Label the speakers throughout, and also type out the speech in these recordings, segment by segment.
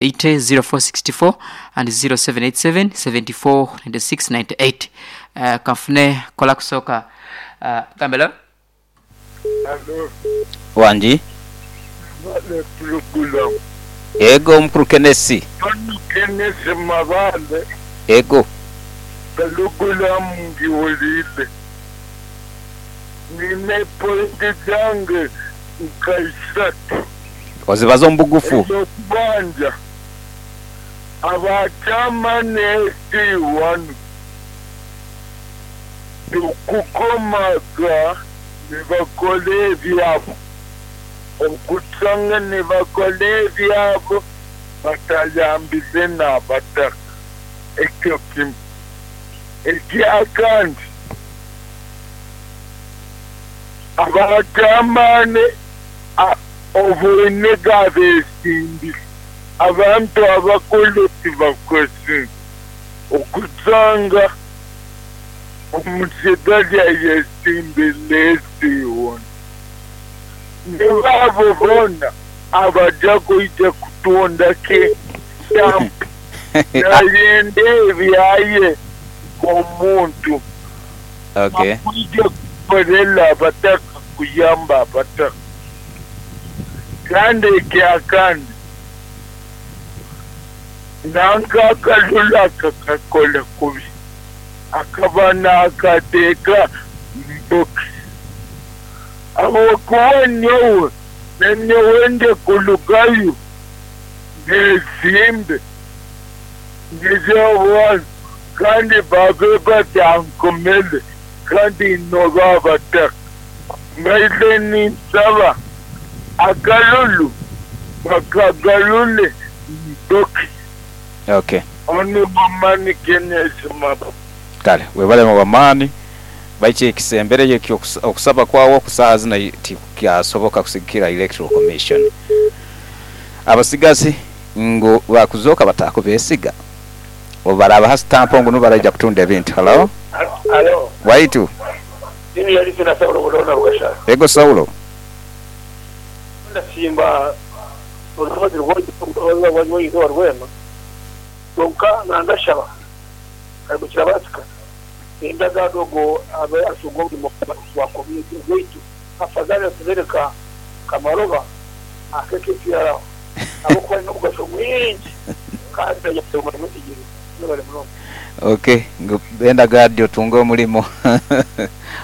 Speaker 1: 80 0464 and 0787 74 96 98. Kanfune kola kusooka. Gambe hello.
Speaker 2: Alo.
Speaker 3: Wangi.
Speaker 2: Mwebale pulogulaamu.
Speaker 3: Ego omukulu Kenesi.
Speaker 2: Ono Kenesi Mabale.
Speaker 3: Ego.
Speaker 2: Pulogulaamu ngiwuliire. Nina epointi dhange nka isatu.
Speaker 3: Ozibaze omu bugufu.
Speaker 2: Edh'okubanja, aba chairman SC wano okukomaga ni bakola ebyabo, okusanga ni bakola ebyabo batayambize n'abataka. Ekyo kimu. Ekyakandi, aba chairman oboine gabesimbire, abantu abakulu tibakoze. Okusanga omusigazi ayesimbire SC wano. Ni baabo boona abaja kwija kutunda ke stamp nayenda ebyaye omuntu.
Speaker 3: Okay.
Speaker 2: Akwija kukorera abataka kuyamba abataka. Kandi ekyakandi nanka akalulu akakakola kubi akaba nakateeka mu bokisi. Ahabw'okuba nyowe nanyowe nje kulugayo nesimbe niz'obwana kandi babe batankomere kandi noba abataka. Mbaire ninsaba akalulu bakagalule mu bokisi.
Speaker 3: Okay.
Speaker 2: Onu Bomani Kenneth Mabo.
Speaker 3: Kale webale Bamaani. Baiki ekisembereyo ekyo okusaba kwagho ku saagha zino tikukyasoboka kusigikira Electoral Commission. Abasigazi ngu bakuzooka bataakubesiga obu baraabaha sitampu ngu nibo baraija kutunda ebintu. Hallo?
Speaker 4: Halo.
Speaker 3: Waitu.
Speaker 4: Junior Listener Saulo Buloona Rugashara.
Speaker 3: Ego Saulo.
Speaker 4: Ndasimba orusozi rw'eizooba rwema, kwonka nandashaba kare kirabaasika endagaano ogwo abe atunga omurimo gwa community gwaitu afadhali atubere ka kamaroba ake KPR ahabw'okuba aine omugasho mwingi kandi naija kutunga omurimo ekigiri. Mwebale munonga.
Speaker 3: Ok, ngu benda guard otunge omulimo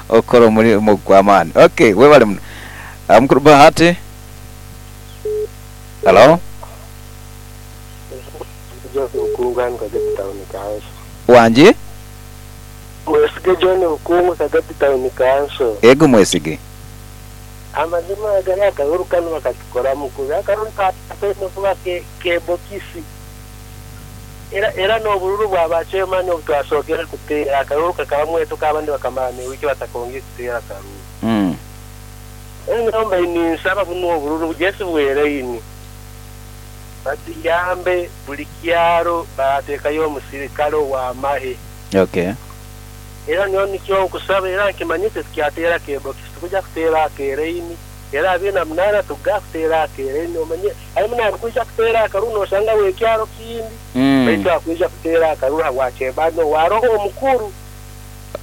Speaker 3: okukola omulimo gwamaani. Ok, webale muno. Mukulu Bahati. Halo.
Speaker 5: John Bukungu ani Kagadi Town Council.
Speaker 3: Wangi?
Speaker 5: Mwesige John Bukungu Kagadi Town Council.
Speaker 3: Ego Mwesige.
Speaker 5: Amazima agali akalulu kanu bakatukoramu kubi. Akalulu kataine kuba ke bokisi era era n'obululu bwa ba chairman obutwasookere kuteera akalulu kakabamu etuka abandi bakamara n'ewiiki batakongiire kuteera kalulu. Enyo mbaire ninsaba bunu obululu Jesse bweraini batuyambe buli kyalo bateekayo omusirikale ow'amaghe.
Speaker 3: Okay.
Speaker 5: Era nyowe nikyo nkusaba era nkimanyite tukyateera akebokisi tikuja kuteera akeraini era abiri na munana tuga kuteera akeraini omanye harimu narukwija kuteera akaruru noshanga wekyaro kindi baitu akwija kuteera akaruru habwa chairman owaroho omukuru.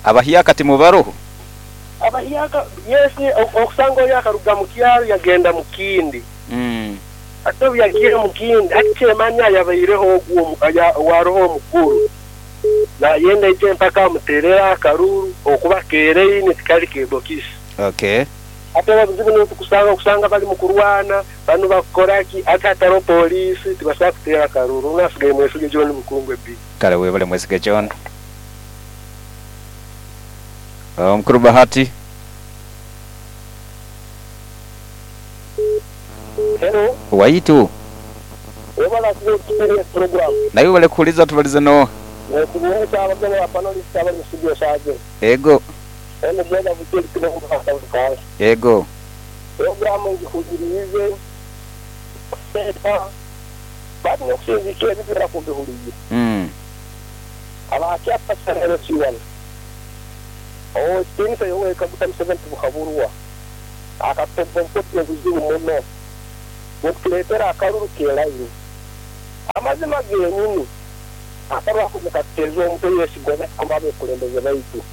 Speaker 3: Abahyaka timubaroho?
Speaker 5: Abahyaka yes okusanga oyo akaruga mukyaro yagenda mukindi ate obu yagiire mukindi hati chairman ayabaireho ogwo owaroho omukuru nayenda aije mpaka amuterere akaruru okuba keraini tikali kebokisi.
Speaker 3: Okay.
Speaker 5: Ate obuzibu nibwo tukusanga okusanga bali mukurwana banu bakukoraki ate hatariho poliisi tibasobola kuteera akaruru nasigaire Mwesige John Bukungwe B.
Speaker 3: Kale webale Mwesige John. Omukulu Bahati.
Speaker 4: Hello.
Speaker 3: Waitu.
Speaker 4: Webale kuba otutereire program.
Speaker 3: Naiwe webale kuwuliriza tubalize n'oha?
Speaker 4: Nekubuuza abagabo ba panelists abali mu studio esaaha zino.
Speaker 3: Ego.
Speaker 4: Ono Brother Bukiri Kibeho Muhanga Town Council.
Speaker 3: Ego.
Speaker 4: Program ngihuliriize eka but n'okusinziikira ebibera ku mbihuliire. Aba Chairperson LC1, Ow'ekitiinisa Yoweri Kaguta Museveni Tibuhaburwa akatobba obukodyo obuzibu muno bw'okutuleetera akaruru k'elaini. Amazima genyini akaruru ako nikatuteeza omutwe yesigwa natukoma abekulembeze baitu.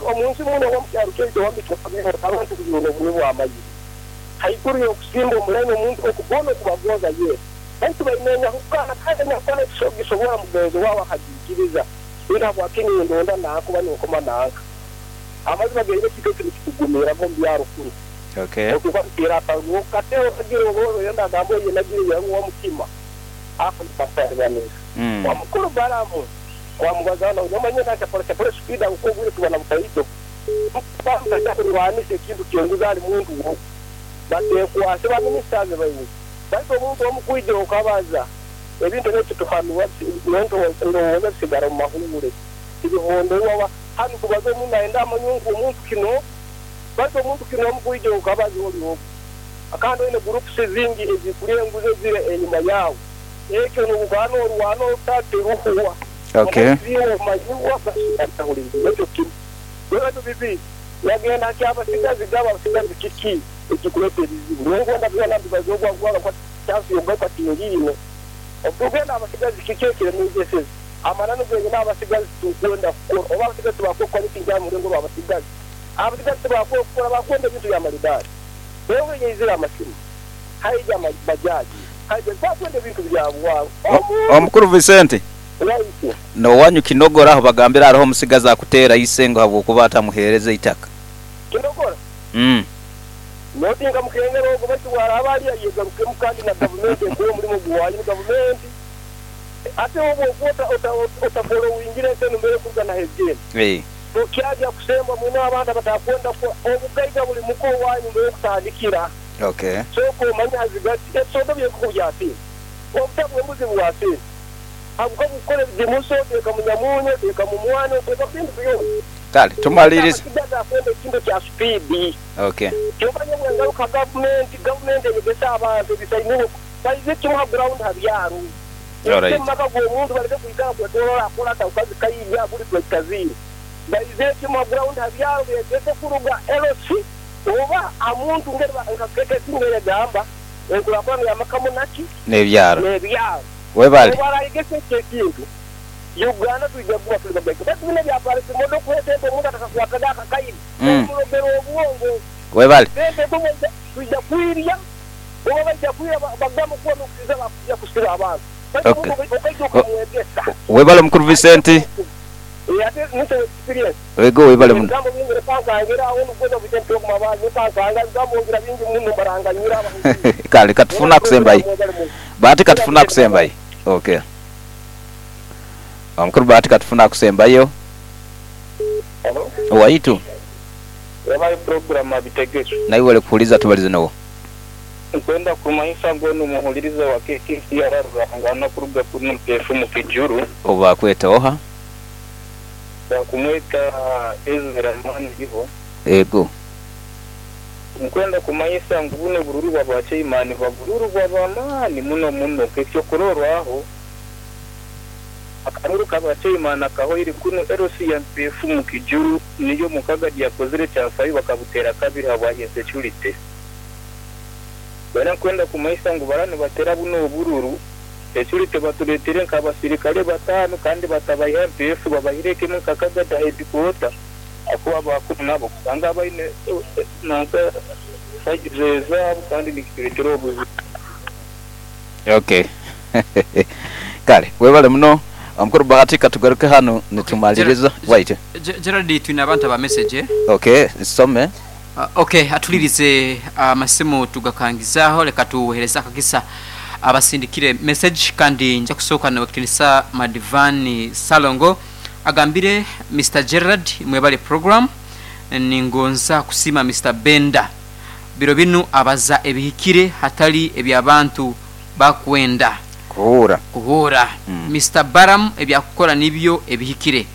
Speaker 4: Omunsi muno oba omukyaro kyaitu owambi twakabeho abantu kujuna obunyu bw'amaizi. Haiguru y'okusimba omulaini omuntu okugona okubagonza ye. Baitu baine enyahukana kandi enyahukana tisogisobora mugenzi waawe akagiikiriza. Ina habwaki nindonda nanka oba ninkoma nanka. Amazima genyini ekintu eki nikitugumiraga omu byaro kunu. Otuuka kuteera akaruru okateera otagira oba oyenda agamba oye nagire yangu omutima. Ako nikakutalibaniza. Omukuru Balamu wamubaza na omanye na chapole chapole speed aho obwire tuba na butaito. Balamu tajya kurwanisa ekintu kyenguzi ali muntu wo. Batekwase ba ministers baingi. Baitu omuntu omu kwija okabaza ebintu ebyo tuhanwa ndowooza bisigara mu mahuure. Tibihonderwa hanu kubaza omuntu naenda amanye ngu omuntu kino baitu omuntu kino omu kwija okabaza oli ogu. Kandi oine groups zingi ezikuri enguzi ezire enyuma yawe. Ekyo nobugana orwana otateruhuwa. Omanyiwa ekyo kimu. Bwebatu bibi yagenda kyabasigazi gaba abasigazi kiki ekikuleta ebizibu. Nengwenda byona mbibaza ogwa kwa chance yogaruka tingine. Obugenda abasigazi kiki ekiremezeseze. Amananu genyina abasigazi tukwenda kukora. Oba abasigazi tibakukora kintu murengo rw'abasigazi. Abasigazi tibakukora bakwenda ebintu bya maridadi. Wewe yeizira amasimu. Haija bajaji. Haija bakwenda ebintu bya bwangu.
Speaker 3: Omukuru Vicente. No wanyu Kinogora aho bagambira hariho omusigazi akuteera isengo habwokuba atamuheereza itaka.
Speaker 4: Kinogora? Notinga mukengero ogo baitu bwaraba ali ayegarukemu kandi na gavumenti ekuwa omulimu guwayo ni gavumenti. Ate obwo otafollowingire ente mbere kuruga na hegene. Tukyajya kusemba mwine abantu abatakwenda obugaiga buli muko wanyu mbere kutandikira. Soko omanye hazigati ebisodo by'enkoko byasine. Obutabu embuzi bwasine. Habuka bukore bimuso teka munyamunyo teka mumwano teka bintu byona.
Speaker 3: Kale tumalirize.
Speaker 4: Akwenda ekintu kya speed. Kyobanye bwengaruka government eyegesa abantu ebisainiho baize kimuha ground habyaro. Maka g'omuntu bareke kwikara kwetorola akola ataukazi kaija buli twekazini. Baize kimuha ground habyaro byegese kuruga LC oba amuntu ngeri nkakeke singere gamba enkulakulana yamakamunaki
Speaker 3: n'ebyaro.
Speaker 4: N'ebyaro.
Speaker 3: Webale.
Speaker 4: Obarayigese ekintu. Uganda tujja kuba tuli bagaiga. Baitu bino bya polisi modo kwete omuntu atakakwataga akakaini. Omulogero obwongo.
Speaker 3: Webale.
Speaker 4: Sente tujja kwirya. Oba bajja kwirya bagamba kuwa n'okusiza bakujja kusiba abantu.
Speaker 3: Webale mukuru Vicente.
Speaker 4: Ate nise experience.
Speaker 3: Wego webale muno.
Speaker 4: Gambo bingi repankangera aho nugoza Vicente okumabazi repankanga gambo ngira bingi muno baranganyira abantu.
Speaker 3: Kale katufuna kusembayi. Bahati katufuna kusembayi. Omukuru Bahati katufuna kusembayo. Waitu.
Speaker 6: Yabaye program abitegezo.
Speaker 3: Naiwe wale kuhuliza tubalize nawo.
Speaker 6: Nkwenda kumanyisa ngono muhuliriza wa KKCR Ruhangana kuruga kuno mpefu mu Kijuru.
Speaker 3: Oba kweta oha?
Speaker 6: Bakumweta Ezra Maniriho.
Speaker 3: Ego.
Speaker 6: Nkwenda kumanyisa ngu buno bururu bwa bachaimani bagururu bwa bamani muno muno kekyo kurorwaho. Akaruru kabachaimani akahoire kuno LC ya mpefu mu Kijuru niyo mukaga yakozire cyafayo bakabutera kabiri habwa insecurity. Bana kwenda kumaisa ngu barani batera buno obururu security batuletere nk'abasirikale batano kandi batabayiha MPF babahireke mu kakaga da headquarter akuba bakuru nabo kusanga baine nanka sajeza kandi nikituletera obuzibu.
Speaker 3: Kale webale muno omukuru Bahati katugaruke hano nitumaliriza. Wait.
Speaker 1: Gerald twina abantu aba message.
Speaker 3: Some.
Speaker 1: Atulirize amasimu tugakangizaho leka tuhereza akagisa abasindikire message kandi nja kusooka na Wekitinisa Madivani Salongo agambire Mr. Gerald mwebale program ningonza kusima Mr. Benda biro binu abaza ebihikire hatali ebyabantu bakwenda kuhura. Mr. Baram ebyakukora nibyo ebihikire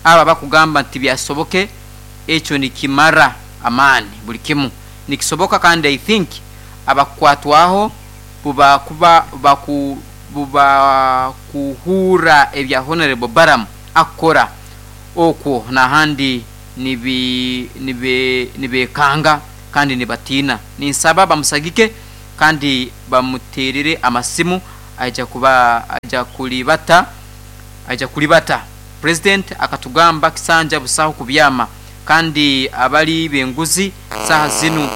Speaker 1: aba bakugamba nti byasoboke ekyo nikimara amani buli kimu nikisoboka kandi I think abakwatwaho buba kuba buba kuhura ebya Honorable Baram akora okwo nahandi nibekanga kandi nibatina ninsaba bamusagike kandi bamuterere amasimu Aija kuba aija kulibata, aija kulibata. President akatugamba kisanja busaho kubyama, kandi abali b'enguzi saha zinu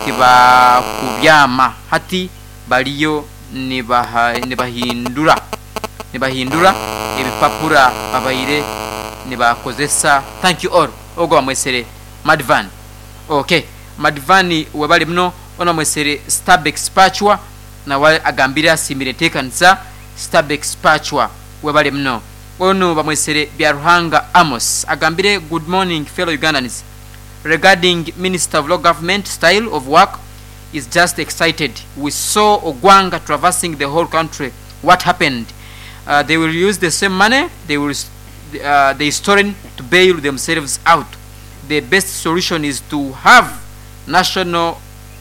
Speaker 1: tibakubyama, hati baliyo nibahindura ebipapura babaire nibakozesa. Thank you all. Ogwo bamwesere Madvan. Okay, Madvan webali muno. Ono bamwesere Starbex Pachwa, nawe agambire asimire enteekanisa. Starbex Pachwa webali muno. Ono bamwesere Byaruhanga Amos, agambire good morning fellow Ugandans. Regarding Minister of Local Government style of work is just excited. We saw Ogwanga traversing the whole country. What happened? They will use the same money they will they stolen to bail themselves out. The best solution is to have national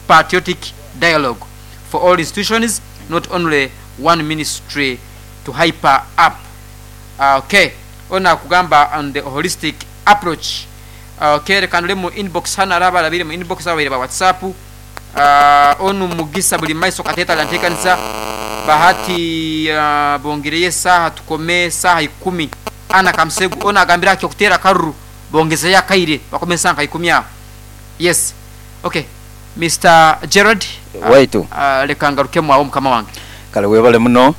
Speaker 1: patriotic dialogue for all institutions, not only one ministry to hyper up. Okay, ona kugamba on the holistic approach. Okay, reka ndore mu inbox hano, araba arabire mu inbox abaire ba WhatsApp. Onu Mugisa buli maiso kateta lantekanisa Bahati, bongereye saha tukome saha 10. Ana Kamsegu ona agambira akyo kutera karuru bongezeya kaire bakome saha 10 aho. Yes. Okay. Mr. Gerard,
Speaker 3: Waitu.
Speaker 1: Reka ngarukemo aho mukama wange.
Speaker 3: Kale webale muno.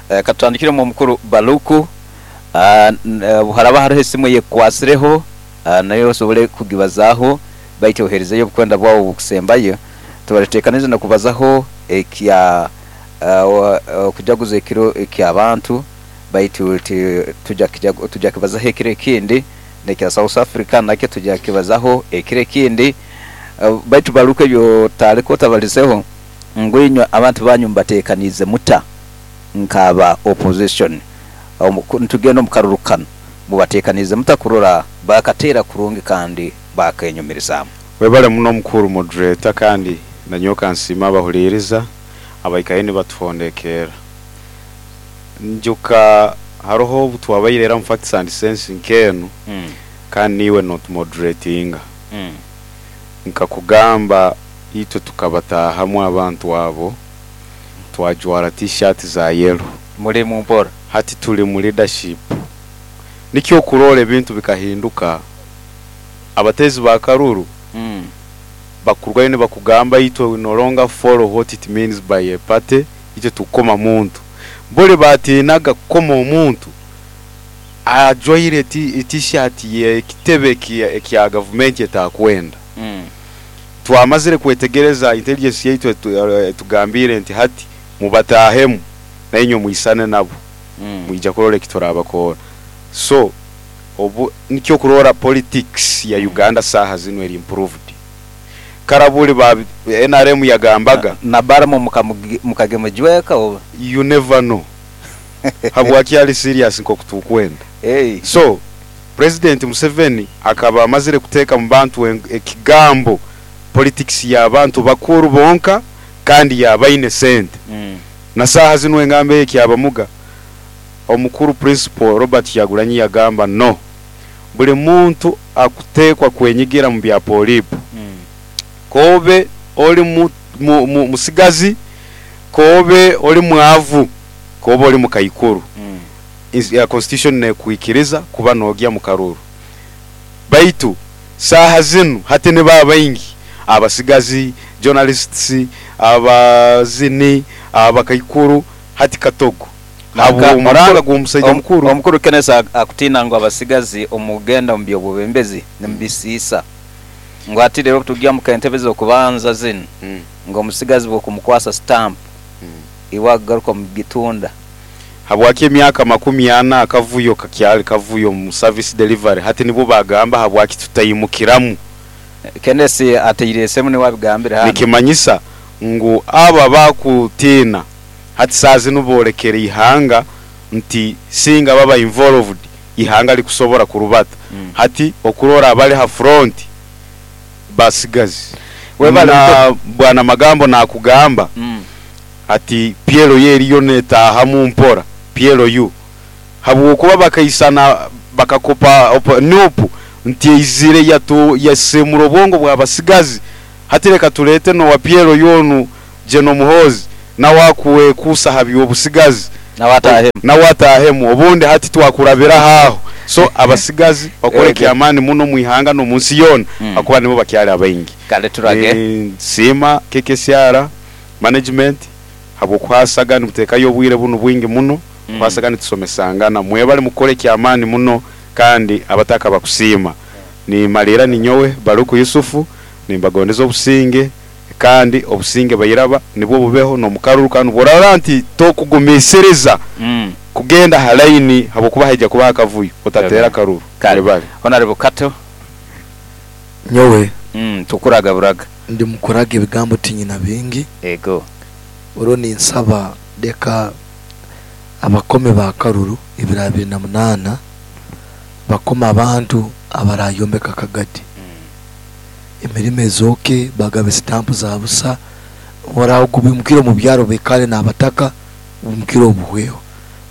Speaker 3: Katutandikire mu mukuru Baluku. Haraba hariho esimu yekwasireho, nayo osobole kugibazaho, baitu oherezeyo obukwenda bwawe bukusembayo. Tubateekanize no kubazaho ekya okujaguza ekiro eky'abantu, baitu tujja kibazaho ekiro ekindi, nekya South Africa nakyo tujja kibazaho ekiro ekindi. Baitu Baluku ebyo tariko tabalizeho ngwinywa abantu banyu mbateekanize muta nkaba opposition. Ntugenda omu karuru kano mubateekanize muta kurora bakateera kurungi kandi bakenyumirizaamu.
Speaker 7: Webale muno mukuru moderator, kandi nanyoka nsima abahuliriza abaikaye nibatuhondekera. Njuka haroho obutwabaire era mu facts and sense nkenu, kandi niwe not moderatinga. Nkakugamba itwe tukabatahamu abantu abo twajwara t-shirt za yellow.
Speaker 3: Muri mu mpora.
Speaker 7: Hati tuli mu leadership. Nikyo kurora ebintu bikahinduka. Abatezi ba karuru bakurwayo ne bakugamba itwe we no longer follow what it means by a party, itwe tukoma muntu. Bole batinaga kukoma omuntu ajwaire t-shirt ye kitebe kya government etakwenda. Twamazire kwetegereza intelligence yaitu tugambire nti hati mubatahemu nainyo muisane nabo. Mwija kurora ekiturabakora. So obu nikyo kurora politics ya Uganda saha zino eri improved. Karabuli ba NRM yagambaga
Speaker 3: na baramo mukagemejweka oba
Speaker 7: you never know. Habwaki ali serious nko kutukwenda.
Speaker 3: Hey.
Speaker 7: So President Museveni akaba amazire kuteeka mu bantu ekigambo politics ya bantu bakuru bonka kandi yabaine sente. Na saha zino engambe ekyabamuga omukuru principal Robert Kyagulanyi yagamba no, buli muntu akutekwa kwenyigira mu bya polipo. Kobe oli musigazi, kobe oli mwavu, kobe oli mukaikuru. Ya constitution ne kuikiriza kuba nogya mu karuru. Baitu saha zinu hati ne baba baingi abasigazi, journalists, abazini, abakaikuru hati katogo. Abo omuranga gw'omusajja mukuru.
Speaker 3: Omukuru Kenneth akutina ngo abasigazi omugenda mu byobubembezi nemubisiisa. Ngo ati rero tujya mu kentebe zo kubanza zino. Ngo omusigazi bwokumukwasa stamp. Iwagaruka mu gitunda.
Speaker 7: Habwaki emyaka 40 akavuyo kakyali kavuyo mu service delivery hati nibo bagamba habwaki tutayimukiramu.
Speaker 3: Kenneth ateire semu ni wabigambira hano.
Speaker 7: Nikimanyisa ngu aba bakutina hati sazi nubolekera ihanga nti singa baba involved ihanga likusobora kurubata. Hati okurora abali ha front basigazi.
Speaker 3: Webale
Speaker 7: bwana magambo nakugamba ati Piero yeriyo netaha mu mpora Piero yu habwokuba bakaisana bakakopa nupu nti izire yatu yasemura obwongo bwa basigazi. Hati reka tulete no wa Piero yonu Jeno Muhozi Nawe akuwekuusa ha by'obusigazi.
Speaker 3: Nawe atahemu.
Speaker 7: Nawe atahemu obundi hati twakurabiraho aho. So abasigazi bakore kyamaani muno omu ihanga n'omu nsi yoona ahakuba nibo bakyali abaingi.
Speaker 3: Kale turage.
Speaker 7: Ninsiima KKCR management habw'okuhasaga nimuteekayo obwire bunu bwingi muno kuhasaga nitusomesangana. Mwebale mukukora ekyamaani muno kandi abataka bakusiima. Nimaliira ninyowe Baluku Yusufu nimbagondeza obusinge kandi obusinge bairaba nibwo bubeho n'omu karuru kanu. Bworarora nti tokugumiisiriza kugenda ha layini habwokuba haija kubaho akavuyo, otateera akaruru.
Speaker 3: Kale.
Speaker 7: Webale.
Speaker 3: Honorable Kato.
Speaker 8: Nyowe.
Speaker 3: Tukuraga buraga.
Speaker 8: Ndi mukuraga ebigambo tinyina bingi.
Speaker 3: Ego.
Speaker 8: Orwo ninsaba leka abakome ba karuru ebiro 28 bakome abantu abarayombeka Kagadi. Emirimo ezooke bagabe sitampu za busa oragubimukire omu byaro bekale n'abataka bumukire obuhweho.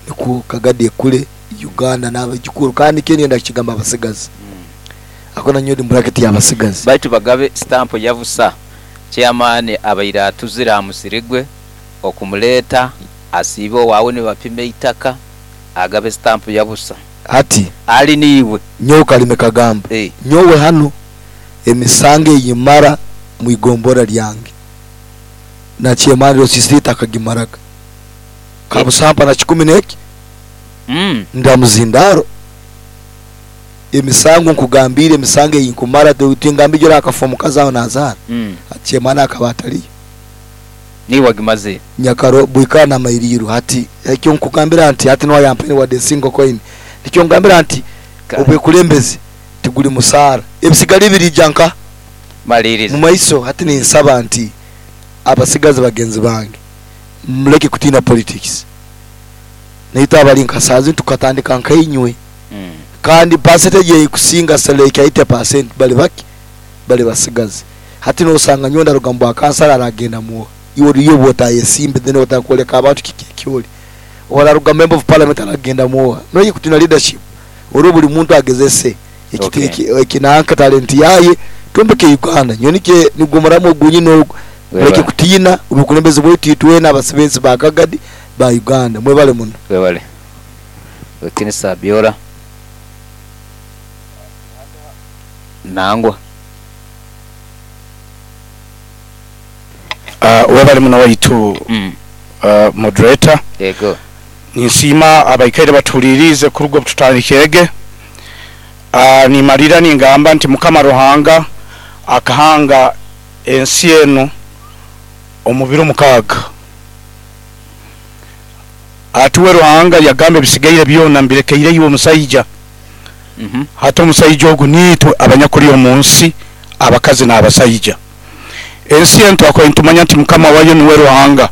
Speaker 8: Nikwo Kagadi ekule Uganda n'abajukuru kandi kye kigamba abasigazi. Akona nyo ndi bracket y'abasigazi.
Speaker 3: Baitu bagabe stamp ya busa. Chairman abaire atuzira amusirigwe okumuleta asiibe owaawe nibapima eitaka agabe stamp ya busa.
Speaker 8: Ati
Speaker 3: ali niiwe.
Speaker 8: Nyowe Kalime Kagamba. Nyowe hano emisango eyimara mu igombora lyange. Na chairman Rosisita akagimaraga. Kabusampa na kikumi neki? Ndamuzindaro. Emisango nkugambire emisango eyinkumara tingambi jora akafomu kazaho nazara. Chairman akaba ataliyo.
Speaker 3: Niwe gimaze.
Speaker 8: Nyakaro buikana mairiru hati ekyo nkugambira nti hati no yampene wa single coin. Nikyo ngambira nti obwekulembezi tiguli musara. Ebisigali birijanka
Speaker 3: maliriza.
Speaker 8: Mu maiso hati ninsaba nti abasigazi bagenzi bange muleke kutina politics. Naita abali nkasazi tukatandika nkainywe. Kandi percentage yekusinga seleka 80% bali baki bali basigazi. Hati no osanga nyonda rugambo akansala aragenda muo. Iwo riyo bota yesimbe then otakoleka abantu kikyoli. Ora rugambo member of parliament aragenda muo. No kutina leadership. Oro buli muntu agezese ekinanka talent yaye tumbeke Uganda. Nyonike nigomoramo gunyi no muleke kutina ubukulembeze bwetu twena abasebenzi ba Kagadi ba Uganda. Mwebale muno.
Speaker 3: Mwebale. Wekinisa Biola. Nangwa.
Speaker 9: Webale muno waitu moderator.
Speaker 3: Yego.
Speaker 9: Ninsima abaikaire batulirize kurugo tutandikege. Nimalira ningamba nti Mukama Ruhanga akahanga ensi eno omubiro 6. Atuwe Ruhanga yagambe bisigaire byona mbirekeire iwe omusajja. Hata omusajja ogu nitwe abanyakuli omunsi abakazi n'abasajja. Ensi eno twakoye ntumanya nti Mukama wayo niwe Ruhanga.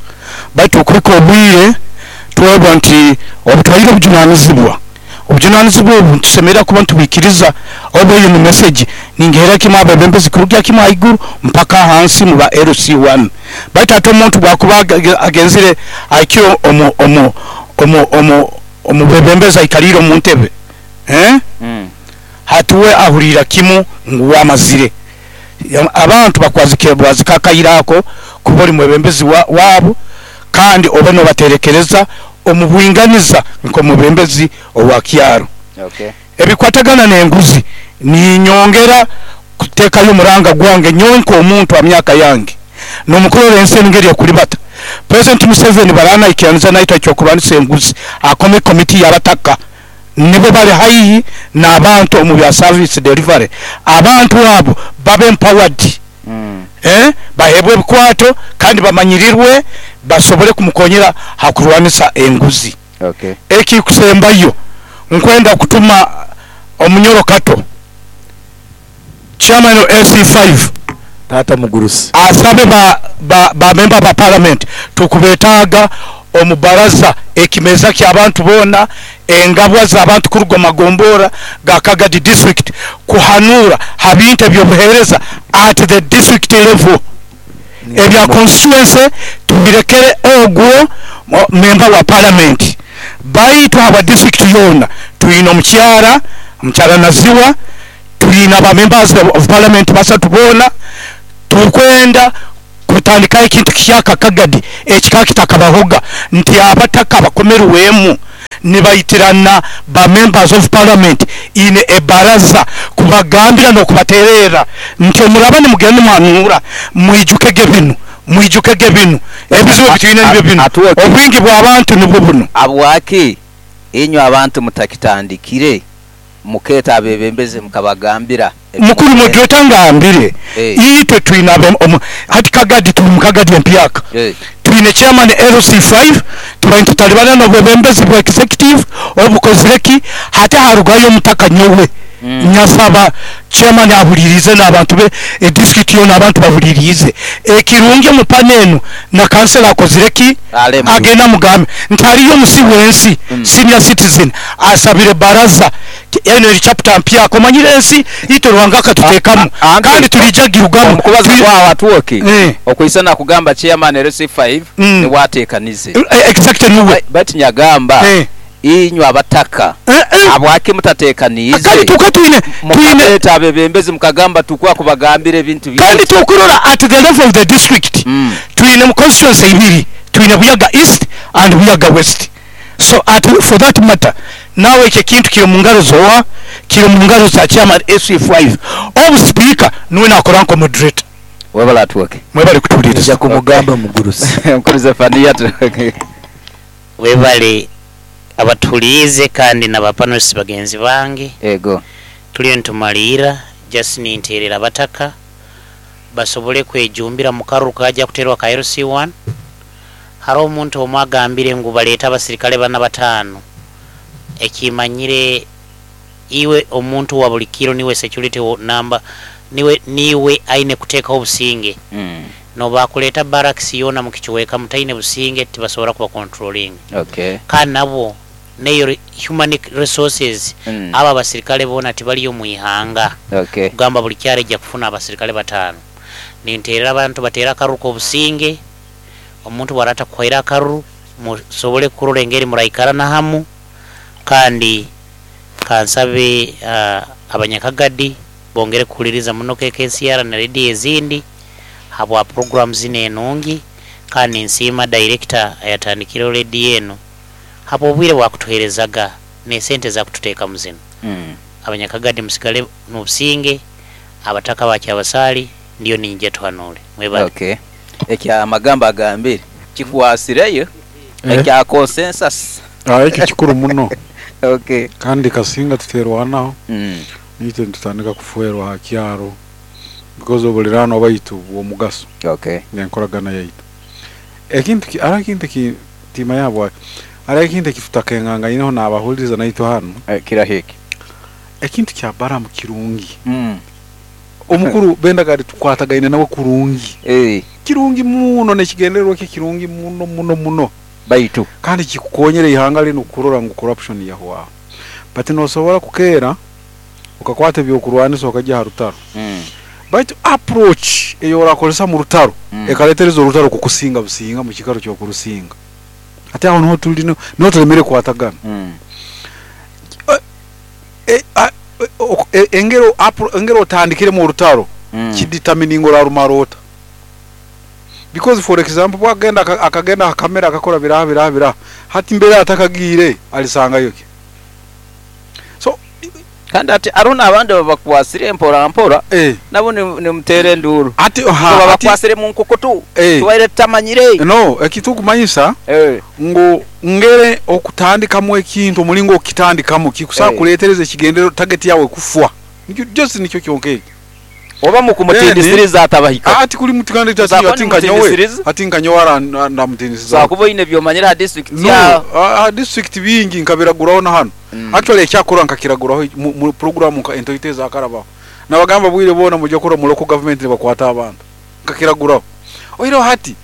Speaker 9: Baitu okuliko obwire twebwa nti obutwaire obujunanizibwa. Obujunanizibwa obu ntusemerera kuba ntubikiriza obu eyo ni message ningehera kimu abebembezi kurugya kimu haiguru mpaka hansi mu ba LC1. Baitu ate omuntu bwakuba agenzire aikire omubebembezi aikalire omu ntebe. Hatuwe ahurira kimu ngu wamazire. Abantu bakwazike bwazika akayirako kuba oli mwebembezi wabo kandi obe nobaterekereza omubwinganiza nko mubembezi owa kyaro. Ebikwatagana n'enguzi ninyongera kutekayo omuranga gwange nyonko omuntu wa myaka yange n'omukorera ensi engeri okulibata. President Museveni barana ikianza naita ekyokulwanisa enguzi akome komiti y'abataka nibo bali haihi n'abantu omu bya service delivery. Abantu abo babe empowered. Bahebwe ebikwato kandi bamanyirirwe basobole kumukonyera hakurwanisa enguzi. Ekikusembayo nkwenda kutuma omunyoro Kato chairman wa LC5
Speaker 8: Tata Mugurusi
Speaker 9: asabe ba member ba parliament tukubetaga omubaraza ekimeza ky'abantu bona engabwa z'abantu kuruga magombora ga Kagadi district kuhanura habintu ebyobuhereza at the district level. Ebya constituency tubirekere ogwo member wa parliament. Baitu aba district yona tuyina omukyara Naziwa, tuyina ba members of parliament basatu bona tukwenda Kutandikaho ekintu kihyaka Kagadi ekikaba kitakabahoga, nti abataka bakomerwemu nibaitirana ba members of parliament ine ebaraza kubagambira n'okubatererra nti omuraba nimugenda nimwanura, mwijukege binu, mwijukege binu, ebizibu ebitwine nibyo binu, obwingi bw'abantu nibwo buno.
Speaker 3: Abwaki inywe abantu mutakitandikire muketa abebembezi mukabagambira?
Speaker 9: Mukuru moderator, ngambire, itwe twine hati Kagadi, tuli mu Kagadi empyaka, twine chairman LC5, tubaire tutalibana n'obwebembezi bwa executive obukozire ki. Hati harugayo omutaka nyowe nyasaba chairman ahulirize n'abantu be, edistrict yona abantu bahulirize. Ekirungi omu pana enu na kansela akozire ki, agenda mugambe nti hariyo omusi w'ensi, senior citizen asabire baraza. Eno eri chapter mpyaka, omanyire ensi itwe Ruhanga akatuteekamu kandi tulijja girugamu.
Speaker 3: Omukubaza kwawe atuoke okwisana kugamba chairman LC5 niwatekanize.
Speaker 9: Exactly, niwe.
Speaker 3: Bati nyagamba inywe abataka abwaki mutatekanize
Speaker 9: kandi tuka twine
Speaker 3: mukaleta abebembezi mukagamba tukwa kubagambira ebintu
Speaker 9: kandi tukurora at the level of the district, twine mu constituency ibiri, twine Buyaga East and Buyaga West. So at, for that matter, nawe ekyo ekintu kiri mu ngaro zowa, kiri mu ngaro za chairman SC5, obu speaker niwe nakora nko moderator.
Speaker 3: Webale atuoke.
Speaker 9: Mwebale kutuuliriza.
Speaker 8: Nja kumugamba mugurusi.
Speaker 3: Mukuru Zefania atuoke.
Speaker 10: Webale abatuliize kandi n'abapanelists bagenzi bange.
Speaker 3: Ego.
Speaker 10: Tuliyo nitumalira, just ninterera abataka basobole kwejumbira mu karuru kajja kuterwa ka LC1. Hariho omuntu omwe agambire ngu baleete abasirikale bana 5. Ekimanyire iwe omuntu wa buli kiro niwe security number, niwe aine kuteekaho obusinge. Nobakuleeta barracks yona mu kichweka mutaine businge tibasobora kuba controlling. Kandi nabo neyo human resources, aba abasirikale bona tibaliyo mu ihanga. Kugamba buli kyaro ejja kufuna abasirikale 5. Ninterera abantu batera akaruru k'obusinge, omuntu bwarata kuhaira akaruru musobole kurora engeri muraikarana hamu. Kandi kansabe abanyakagadi bongere kuhuliriza muno KKCR na radio ezindi habwa program zine enungi. Kandi nsiima director ayatandikire radio eno hapo obwire bwakutuherezaga ne sente za kututeeka mu zino. Abanyakagadi musigale n'obusinge, abataka bakyabasali ndiyo ninje tuhanule mwebale.
Speaker 3: Ekya amagambo agambire kikwasireyo ekya consensus.
Speaker 7: Ekyo kikuru muno. Kandi kasinga tuterwanaho, nitwe nitutandika kufuerwa ha kyaro because obulirano baitu bw'omugaso n'enkoragana yaitu. Ekintu ara ekintu ki tima yabwa ara ekintu ekitutakengangaineho n'abahuliriza naitwe hano.
Speaker 3: Kirahiki
Speaker 7: ekintu kya Baramu kirungi. Omukuru Bendagadi tukwatagaine nawe kurungi. Kirungi muno n'ekigendererwa kye kirungi muno muno muno.
Speaker 3: Baitu
Speaker 7: kandi kikukonyera ihanga linu kurora ngu corruption yahwaho. But nosobora kukeera ukakwata ebyokurwanisa okajya ha rutaro. Baitu approach eyo orakozesa mu rutaro ekaletereza orutaro kukusinga businga mu kikaro ky'okurusinga. Ate aho niho tuli niho tulemere kwatagana. Engero otandikire mu rutaro kidetermining orarumara ota. Because for example bwagenda akagenda kamera akakora biraha biraha biraha, hati mbere atakagire alisangayo ki. So
Speaker 3: kandi ati arona abandi babakwasire mpora mpora nabo nimutere nduru.
Speaker 7: Ati
Speaker 3: babakwasire mu nkokoto tuwaire tutamanyire.
Speaker 7: No, ekitukumanyisa ngo ngere okutandikamu ekintu omulingo okitandikamu kikusa kuletereza ekigendero target yawe kufwa. Nikyo just nikyo kyonke.
Speaker 3: Oba mukumutindisiriza atabahika.
Speaker 7: Ati kuli mutikandi ati nkanyowe. Ati nkanyowe ndamutindisiriza.
Speaker 3: Sakubo ine byomanyira ha district
Speaker 7: ya. No, district bingi nkabiraguraho na hano. Actually ekyakora nkakiraguraho mu program nka entoiteza akarabaho. Nabagamba bwire bona mujye kora mu local government bakwata abantu. Nkakiraguraho. Oiro hati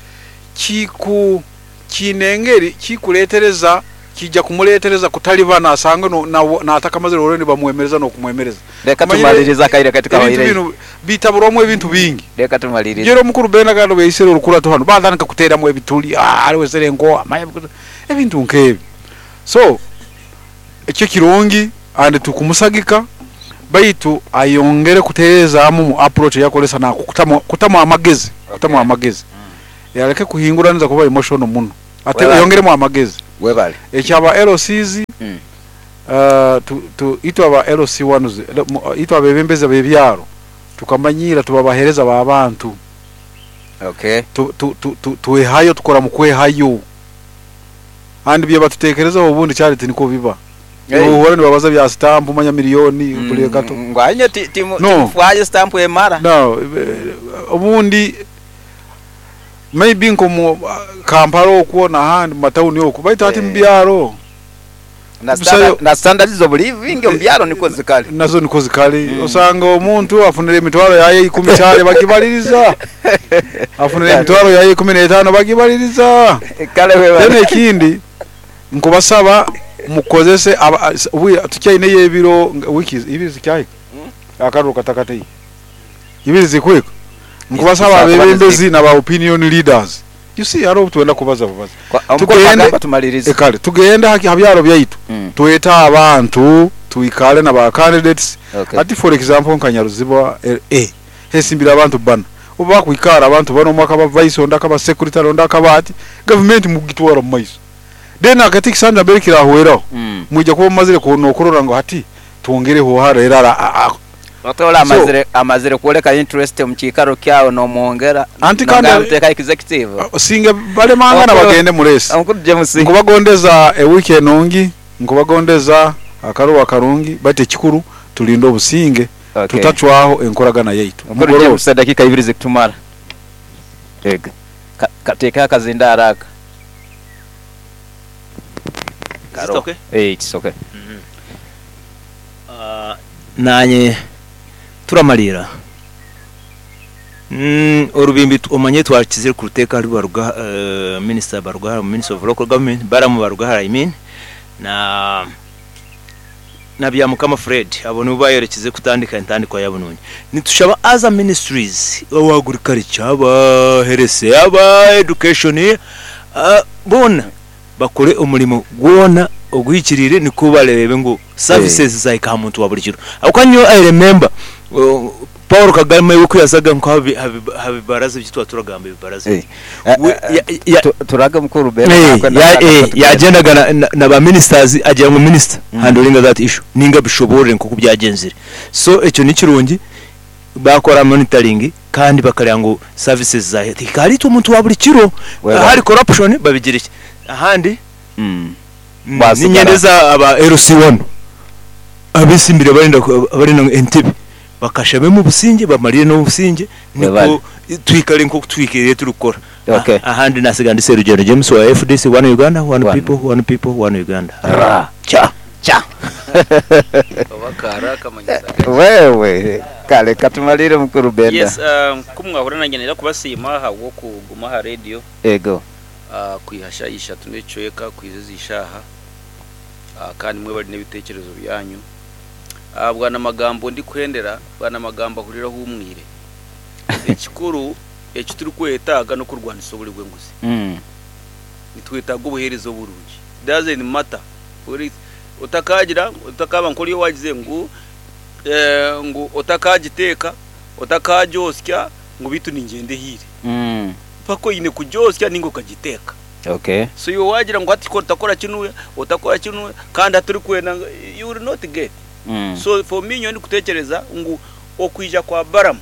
Speaker 7: kiku kinengeri kikuletereza kijja kumuletereza kutalibana asanga no na atakamazire oreni bamwemereza no kumwemereza.
Speaker 3: Reka tumaliriza kaire katika waire.
Speaker 7: Bitaburomwe ebintu bingi.
Speaker 3: Reka tumaliriza.
Speaker 7: Jero mukuru Bendagado beisere orukurato hano batandika kuteeramu ebituli ariwe serengo amaya ebintu nkebi. So ekyo kirungi and tukumusagika baitu ayongere kuterezamu mu approach yakolesa na kutamu amagezi. Kutamu amagezi. Aleke kuhinguraniza kuba emotional muno. Ate
Speaker 3: Webale.
Speaker 7: yongeremu amagezi.
Speaker 3: Webale.
Speaker 7: Ekyaba LCs, itwe aba LC1, itwe abebembezi b'ebyaro tukamanyira tubabahereza b'abantu. Twehayo, tukora mu kwehayo, andi bye batutekerezaho obundi kyali tiniko biba. Uhora nibabaza bya stamp, manya miliyoni buli gato.
Speaker 3: Ngwanye
Speaker 7: No.
Speaker 3: timufwaye stamp emara.
Speaker 7: No, obundi maybe nko mu Kampala okwo n'ahandi mu matawuni okwo, baitu ati mu byaro
Speaker 3: Na
Speaker 7: Busayo-
Speaker 3: na standards zo living mu byaro niko zikali.
Speaker 7: Nazo niko zikali. Osanga omuntu afunira emitwaro yaye 10 kyale bagibaliriza, afunira emitwaro yaye 15 bagibaliriza.
Speaker 3: Kale wewe.
Speaker 7: Then ekindi nkubasaba mukozese tukyaineyo ebiro wiki ibiri zikyahika, akaruru katakatei ibiri zikwika. Nkubasaba
Speaker 3: Zikuba
Speaker 7: abebembezi na ba opinion leaders, you see, hariho twenda kubaza bubaza.
Speaker 3: Omukuru agamba tumalirize.
Speaker 7: Kale tugende ha byaro byaitu, twete abantu, tuikale na ba candidates. Ati for example nka Nyaruziba hesimbira abantu bana, oba bakwikara abantu bano, omwaka ba vice, onda akaba secretary, onda akaba ati government mugitwara mu maiso. Then akati kisanja mbere kirahweraho, mwija kuba mumazire kunokurora ngo hati twongereho hara era
Speaker 3: Otola amazire kuoleka interest mu kiikaro kyawe n'omwongera.
Speaker 7: Anti kandi-
Speaker 3: Muteka executive.
Speaker 7: Singe balemangana bagende muresi.
Speaker 3: Omukuru James.
Speaker 7: Nkubagondeza ewiki enungi, nkubagondeza akaruwa karungi, bate ekikuru tulinde obusinge, tutacwaho enkoragana yaitu.
Speaker 3: Omukuru
Speaker 7: Mugoroba.
Speaker 3: James, dakika ibiri zikutumara. Ega. Kateeka akazinda haraka.
Speaker 11: Is it okay?
Speaker 3: It's okay.
Speaker 11: Nanye turamalira orubimbi omanye twakizire ku ruteeka rubaruga minister Barugahara, minister of local government Baramu Barugahara, I mean, na Byamukama Fred, abo nibo bayerekeze kutandika entandikwa yabo nungi. Nitushaba other ministries, aba agriculture, aba health, aba education, bona bakore omurimo gwona ogwikirire, niko barebe ngu services zahika muntu wa buri kiro. Ako nyo I remember Paul Kagame uko yasaga nko habibaraza byitwa turagamba ibibaraza.
Speaker 3: Turaga mukuru Bena.
Speaker 11: Yagendaga na ba ministers agira ngo minister handling that issue ninga bishobore nko kubyagenzire. So ekyo ni kirungi bakora monitoring kandi bakareba ngo services za tikari umuntu wa buri kiro. Hari corruption babigira iki ahandi
Speaker 3: Basigara.
Speaker 11: Ninyendeza aba LC1 abisimbire barinda entebe bakashabe mu businge bamarire no businge niko
Speaker 3: Webale.
Speaker 11: twikare nko twikiriye turukora.
Speaker 3: Okay.
Speaker 11: Ahandi nasiga ndi Serugendo James wa FDC, one Uganda, one people, one people, one Uganda.
Speaker 3: Ra cha cha.
Speaker 1: Bakara kamanyiza.
Speaker 3: Wewe kale katumalire mukuru Benda.
Speaker 12: Yes, kumwahura nanjye nera kubasiima habwo kuguma ha radio.
Speaker 3: Ego.
Speaker 12: Kwihasha ishatu n'ecweka kwizeza ishaha, kandi mwe bari n'ibitekerezo byanyu. Bwana magambo ndi kwendera, bwana magambo ahuriraho umwire. Ekikuru eki turi kwetaaga no kurwanisa oburi bw'enguzi. Nitwetaaga obuheereza oburungi. Doesn't matter. Otakagira otakaba nkori wagize ngu ngu otakagiteeka otakajosya ngu bitu ningende hire. Pako ine kujosya ningo ukagiteeka. So iwe wagira ngo ati ko utakora kinu utakora kinu kandi aturi kwenda, you will not get. So for me nyo ndi kutekereza ngu okwija kwa Baramu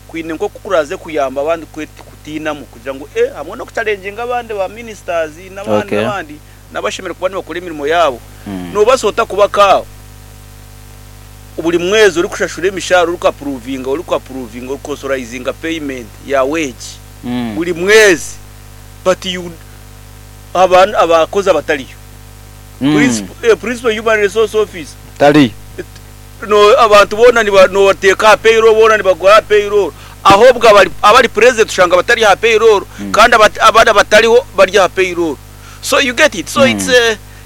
Speaker 12: kwine nko kukuraze kuyamba abandi kutinamu kugira ngo hamwe no kuchallenginga abandi ba ministers n'abandi n'abandi nabashemere kuba nibakora imirimo yabo. Nobasota kuba kawo buri mwezi uri kushashura imishahara, uri ku approvinga uri ku authorizinga payment ya wage buri mwezi, but you abantu abakozi abatariyo. Principal human resource office
Speaker 3: Tali.
Speaker 12: No abantu bona ni no bateka payroll, bona ni bagora payroll, ahubwo abari president ushanga batari ha payroll, kandi abandi batariho barya ha payroll. So you get it? So it's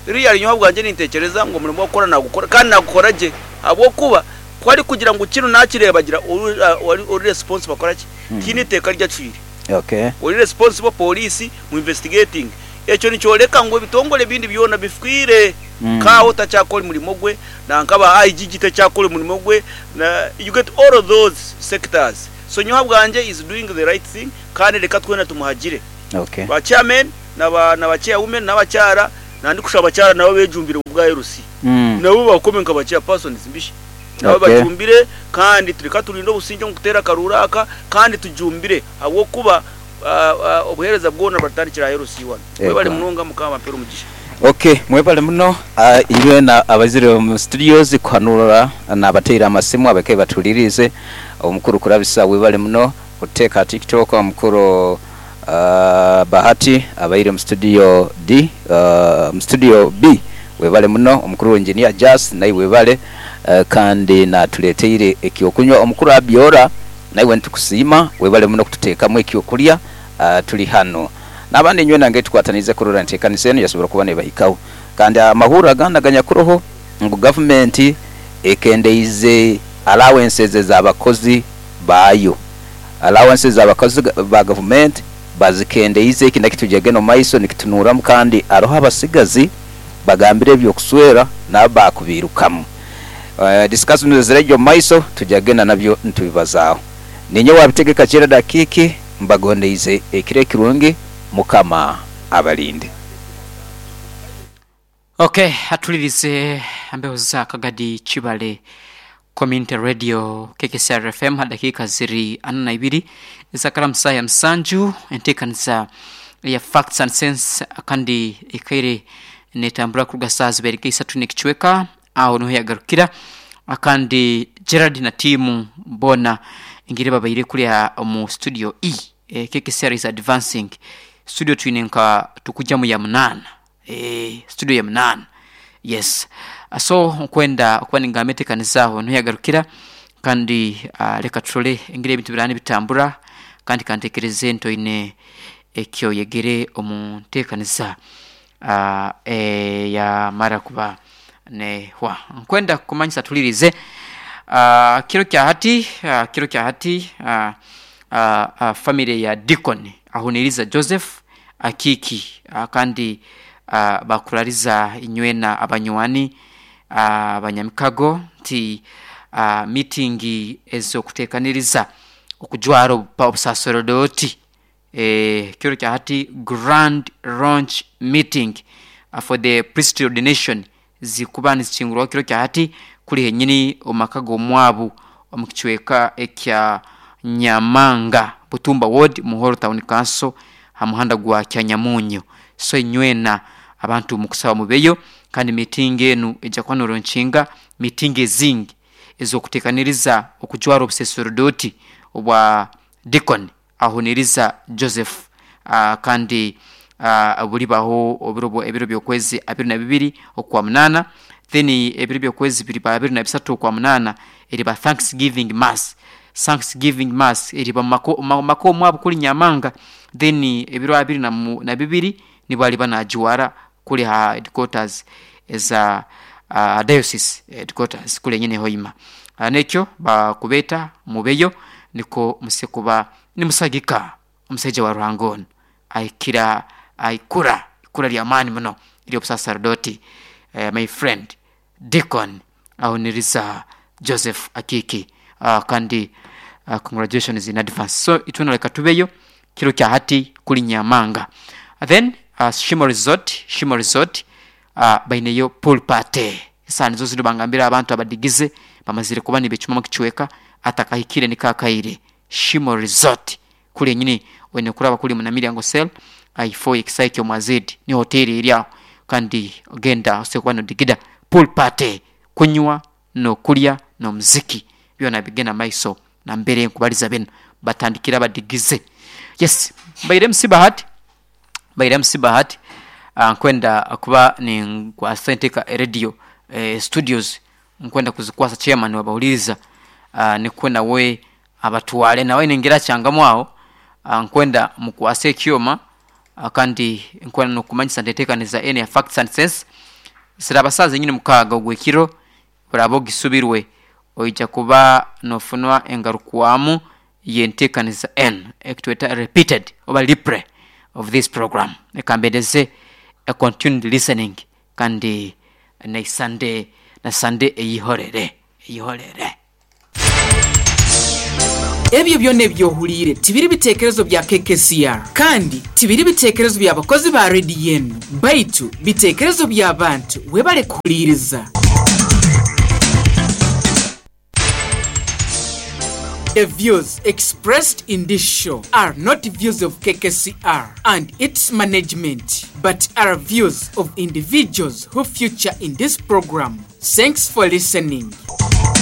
Speaker 12: real nyo bwanje nintekereza ngo umurimo wo gukora nagukora kandi nagukora je abo kuba kwari kugira ngo kino nakirebagira uri responsible akora ki kini iteka ryacire uri responsible police mu investigating ekyo nicyoreka ngo ebitongole bindi byona bifwire kaho utacyakora umurimo gwe nankaba IGG itacyakora umurimo gwe na you get all of those sectors. So nyowe habwangye he is doing the right thing kandi reka twena tumuhagire.
Speaker 3: Okay.
Speaker 12: Ba chairmen na ba na ba chairwomen n'abakyara na ndikushaba abakyara nabo bejumbire omu bwa LC. Nabo bakome nka ba chairpersons mbishi. Nabo bajumbire kandi reka turinde obusingye omu kuteera akaruuru aka kandi tujumbire ahabw'okuba obuheereza bwona buratandikira aha LC wanu. Mwebale munonga Mukama abampere omugisha.
Speaker 3: Ok mwebale muno inywena abaizire omu studios kuhanura nabateire amasimu abakaire batuhuliriize. Omukuru Kurabisa webale muno kututeeka aha tiktok, omukuru Bahati abaire mu studio D, mu studio B webale muno, omukuru Engineer Jas naiwe webale kandi natuleteire ekyokunywa. Omukuru Abiora naiwe nitukusiima webale muno kututeekamu ekyokulya tuli hanu. N'abandi inywena ngeri tukwataniize kurora enteekaniza enu yasobora kuba nebahikaho. Kandi amahurre agandi aganyakuroho ngu gavumenti ekendeize allowances ez'abakozi baayo. Allowances z'abakozi ba gavumenti bazikendeize eki nakyo tujagenda omu maiso nikitunuramu kandi haroho abasigazi bagambire eby'okuswera nabo baakubiirukamu. Discussions eziraija omu maiso tujagenda nabyo nitubibazaaho. Ninyowe Abitegeka Gerald Akiiki mbagondeize ekiro ekirungi Mukama abalinde.
Speaker 1: Ok atulirize embeho za Kagadi Kibale Community Radio KKCR FM ha dakiika ziri ana na ibiri ezakara saaha ya musanju enteekaniza eya Facts and Sense kandi ekaire netambura kuruga saaha zibaire nka isatu n'ekicweka aho niho yagarukira kandi Gerald na tiimu boona engeri babaire kuriya omu studio E KKCR is advancing studio twine nka tukugyamu ya munaana. Eeh studio ya munaana yes so nkwenda okuba ningamba entekaniza aho niho yagarukira kandi leka turole engeri ebintu biraba nibitambura kandi kantekereze nti oine ekyoyegere omu ntekaniza eyamara kuba nehwa. Nkwenda kukumanyisa tuhulirize kiro kya hati kiro kya hati family ya Deacon Ahuniriza Joseph Akiiki kandi bakurariza inywena abanywani, abanyamikago nti miitingi ez'okuteekaniriza okujwara obusaserodooti kiro kya hati Grand Launch Meeting for the Priestly Ordination zikuba nizikingurwaho kiro kya hati kuri henyini omu maka g'omwabu omu kicweka ekya Nyamanga, Butumba Ward, Muhoro Town Council ha muhanda gwa Kyanyamunyu. So inywena abantu mukusaba mubeyo kandi miitingi enu eija kuba noronkinga miitingi ezingi ez'okutekaniriza okujwara obuseserodooti obwa Deacon Ahuniriza Joseph kandi bulibaho ebiro by'okwezi abiri na bibiri okwa munaana then ebiro by'okwezi biriba abiri na bisatu okwa munaana eriba Thanksgiving Mass. Thanksgiving Mass eriba mu maka omwabo kuri Nyamanga then ebiro abiri na bibiri nibwo aliba najwara kuri ha headquarters eza diocese headquarters kuri enyini Hoima. Nekyo bakubeeta mubeyo nikwo muse kuba nimusagika omusaija wa Ruhanga onu ahikire aha ikura, ikura ly'amaani muno ery'obusaserdooti my friend Deacon Ahuniriza Joseph Akiiki kandi congratulations in advance. So itwena leka tubeyo kiro kya hati kuri Nyamanga. Then Shimo Resort, Shimo Resort baineyo pool party. Esaaha nizo zinu bangambire abantu abadigize bamazire kuba nibecumamu ekicweka atakahikire niko akaire. Shimo Resort kuri enyini oine kuraba kuri Munamilyango Cell ahaifo y'ekisaayi ky'Omwazedi niho hoteeri eri aho kandi genda osobole kuba nodigida. Pool party, kunywa n'okulya n'omuziki byona bigenda mumaiso nambere nkubaliza binu batandikire abadigize. Yes, mbaire MC Bahati, mbaire MC Bahati nkwenda kuba ninkwasa enteeka radio studios nkwenda kuzikwasa chairman wabahuliriza nikwo nawe abatware nawe aine engeri akyangamu aho nkwenda mukwase ekyoma kandi nkwenda n'okukumanyisa nti enteekaniza enu eya Facts and Sense ziraaba saaha zenyini mukaaga ogw'ekiro oraaba ogisubirwe oija kuba nofunwa engarukwamu y'enteekaniza enu ekitweta repeated oba replay of this program. Leka mbendeze a continued listening kandi n'eisande na Sande eyihorere eyihorere.
Speaker 13: Ebyo byona ebyohuliire tibiri biteekerezo bya KKCR kandi tibiri biteekerezo by'abakozi ba rediyo enu, baitu biteekerezo by'abantu. Webale kuhuliiriza. The views expressed in this show are not views of KKCR and its management, but are views of individuals who feature in this program. Thanks for listening.